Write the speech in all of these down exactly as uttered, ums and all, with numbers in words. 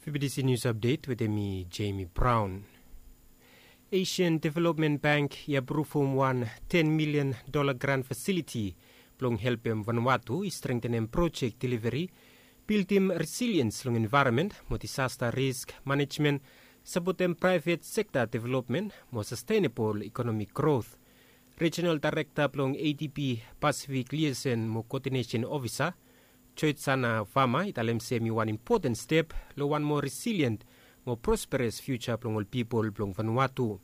Fibidisi nius apdet wetem mi, Jemi Braon. Asian Development Bank i apruvum wan ten milian dola gran fasiliti blong helpem Vanuatu i strengtenem projek deliveri, bildim resiliens long envaeronmen mo disasta risk manejmen, sapotem praevet sekta developmen mo sastenabol ekonomik grot. Rejinal daerekta blong A D B, Pasifik Liesen mo Koodinesen Ofisa, Joitsana Vama i talem se hem i wan impoten step long wan moa resilien mo prosperes fiuja blong ol pipol blong Vanuatu.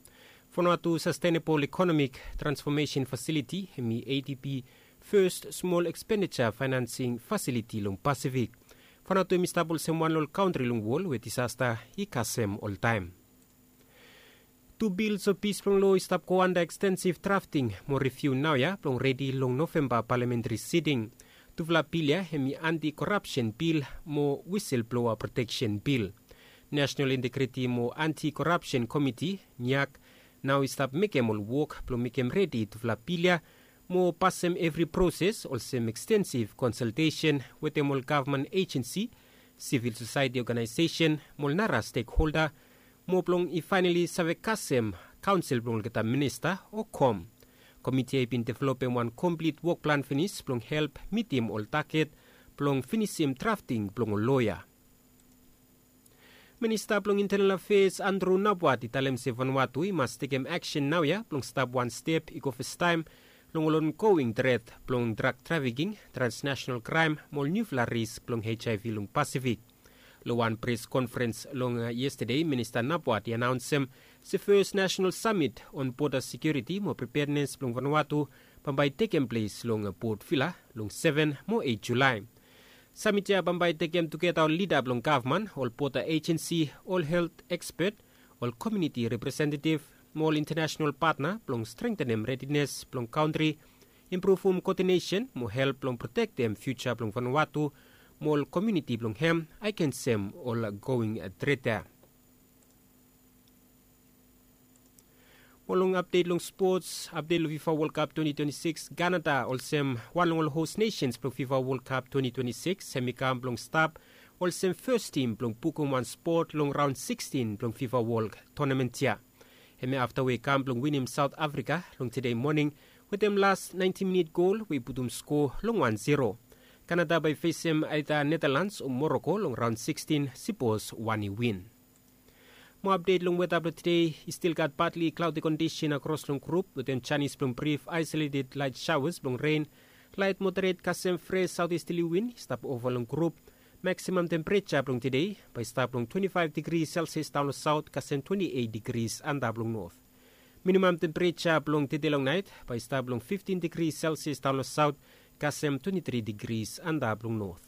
Vanuatu Sastenabol Ekonomik Transfomesen Fasiliti hem i A D B fes smol ekspendija faenansing fasiliti long Pasifik. Vanuatu hem i stap olsem wan long ol kantri long wol we disasta i kasem oltaem. Tu bil of pis blong lo i stap go anda ekstensiv drafting mo riviu naoia blong redi long Novemba palamentri siting. Tufala bil ya hem i anti korapsen bil mo wiselbloa proteksen bil. Nasenal Integriti mo Anti Korapsen Komiti, niak, nao i stap mekem ol wok blong mekem redi tufala bil ya mo pasem evri proses olsem ekstensiv konsaltesen wetem ol gavman ejensi, sivil sosaeti oganaesesen mo ol nara stekholda, mo blong i faenali save kasem kaonsel blong olgeta minista o kom. Komiti ya i bin developem wan komplit wokplan finis blong help mitim ol taget blong finisim drafting blong ol loea. Minista blong Intenal Afeas Andrew Napuat i talem se Vanuatu i mas tekem aksen naoia blong stap wan step i go fastaem long ol ongoing tret blong drag trafiking, transnasenal kraem mo ol niufala risk blong H I V long Pasifik. Long wan pres konferens long yestade, Minista Napuat i anaonsem se fes nasenal samit on boda sekiuriti mo pripednes blong Vanuatu bambae i tekem ples long Port Vila long seven mo eit Julae. Samit ya bambae i tekem tugeta ol lida blong gavman, ol boda ejensi, ol helt ekspet, ol komuniti representetiv mo ol intanasenal patna blong strengtenem redines blong kantri, impruvum koodinesen mo help blong protektem fiuja blong Vanuatu mo ol komuniti blong hem agensem ol ongoing tret ya. Mo long apdet long spots, apdet long FIFA Wol Kap twenti twenti sikis, Kanada olsem wan long ol hos nesens blong FIFA Wol Kap twenti twenti sikis hem i kam blong stap olsem fes tim blong bukim wan spot long raon sikstin blong FIFA Wol Kap tonamen ya. Hem i afta we i kam blong winim Saot Afrika long tede moning wetem las naenti minit gol we i putum skoa long wan zero. Kanada bae i fesem aeda Netalans o Moroko long raon sikstin, sipos wan i win. Moa apdet long weta blong tede, i stil gat patli klaodi kondisen akros long grup wetem janis blong brif aesoleted laet saoas blong ren, laet moderet kasem fres saotesterli win i stap ova long grup. Maksimam tempereja blong tede bae i stap long twenti faef digri selsias daon long saot kasem twenti eit digri antap long not. Minimam tempereja blong tede long naet bae i stap long fiftin digri selsias daon long saot kasem twenti tri digri antap long not.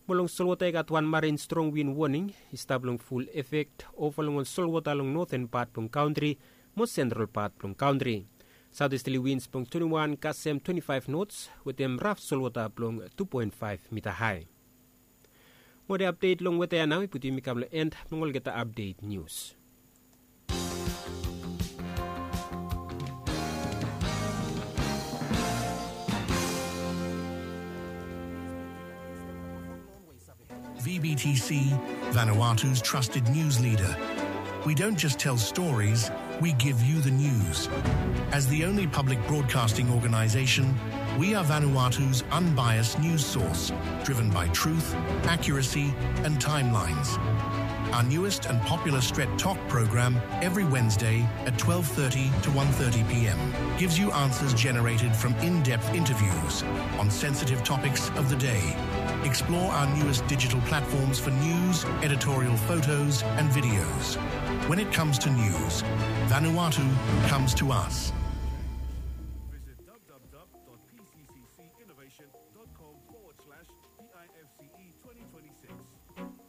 Mo long solwota i gat wan marin strong win woning i stap long ful efek ova long ol solwota long noten pat blong kantri mo sentral pat blong kantri. Saotesterli wins blong twenti wan kasem twenti faef nots wetem raf solwota blong tu poen faef mita hae. Mo ol apdet long weta ya nao i putum mi kam long en blong olgeta apdet nius. V B T C, Vanuatu's trusted news leader. We don't just tell stories, we give you the news. As the only public broadcasting organization, we are Vanuatu's unbiased news source, driven by truth, accuracy, and timelines. Our newest and popular Stret Tok program, every Wednesday at twelve thirty to one thirty p m, gives you answers generated from in-depth interviews on sensitive topics of the day. Explore our newest digital platforms for news, editorial photos, and videos. When it comes to news, Vanuatu comes to us.